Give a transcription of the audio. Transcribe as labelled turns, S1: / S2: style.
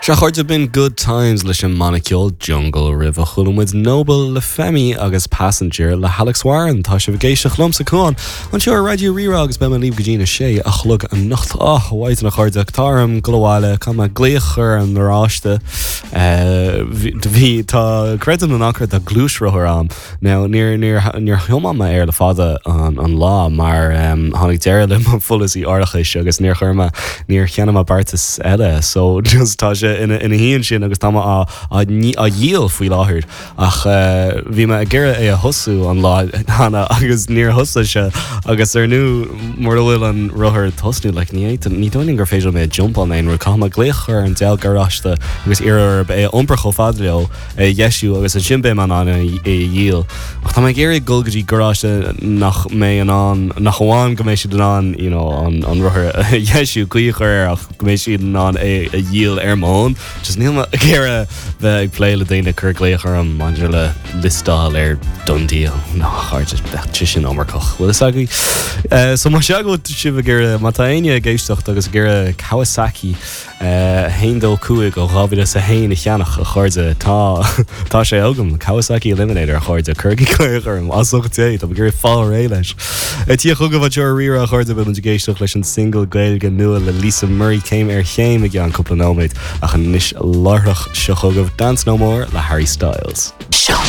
S1: Sea, a chairde, b'in Good Times leis an mbanna ceoil Jungle roimhe chuala muid Noble le Femi agus Passenger le hAlex Warren. Tá sibh ag éisteacht liomsa, Cuán, anseo ar Raidió Rí-Rá agus beidh mé libh go dtí na sé a chlog anocht. Á, a mhaighdean a chairde, tá orm dul abhaile, caithfidh mé glaoch a chur ar an ngaráiste. Bhí, tá, creidim nó ná creid, tá gluaisrothar a'm. Now, níor, níor, níor thiomáin mé air le fada an, an lá mar em, tháinig deireadh le mo pholasaí árachais agus níor chuir mé, níor cheannaigh mé beartas eile. So, just tá sé ina, ina shuí ansin agus tá mé á, á, á dhíol faoi láthair. Ach eh, bhí mé ag iarraidh é a thosú an lá cheana agus níor thosaigh sé agus ar ndóigh mura bhfuil an rothar ag tosnú, like, ní fhéadfainn, ní dóigh liom gur féidir liom é a jumpáil nó aon rud. Caithfidh mé glaoch a chur ar an diabhal garáiste agus iarraidh orthu é a iompar chomh fada leo. é a dheisiú agus ansin beidh mé in ann é a dhíol. Ach tá mé ag iarraidh dul go dtí garáiste nach mbeidh in ann, nach amháin go mbeidh siad in ann you know, an, an rothar a dheisiú, caoi a chur air ach go mbeidh siad in ann é a dhíol ar m'fhón. Just níl mé ag iarraidh bheith ag plé le daoine ag cur glaoch orm maidir le liostáil ar DoneDeal. No, a chairde, bheadh sé sin iomarcach. Bhfuil fhios agaibh? Uh, so má sea go bhfuil sibh ag iarraidh, má tá éinne ag éisteacht agus ag iarraidh Kawasaki 125 ó 2001 a cheannach, a chairde. Tá, tá sé agam. Kawasaki Eliminator, a chairde. Cuirigí glaoch orm, as ucht Dé, tá mé ag iarraidh fáil réidh leis. Tig chugaibh anseo ar Rí-Rá, a chairde, beidh muid ag éisteacht leis an single Gaeilge nua le Lisa Murray, Céim ar Chéim, i gceann cúpla nóiméad. Ach anois láithreach, seo chugaibh Dance No More le Harry Styles.
S2: Seo.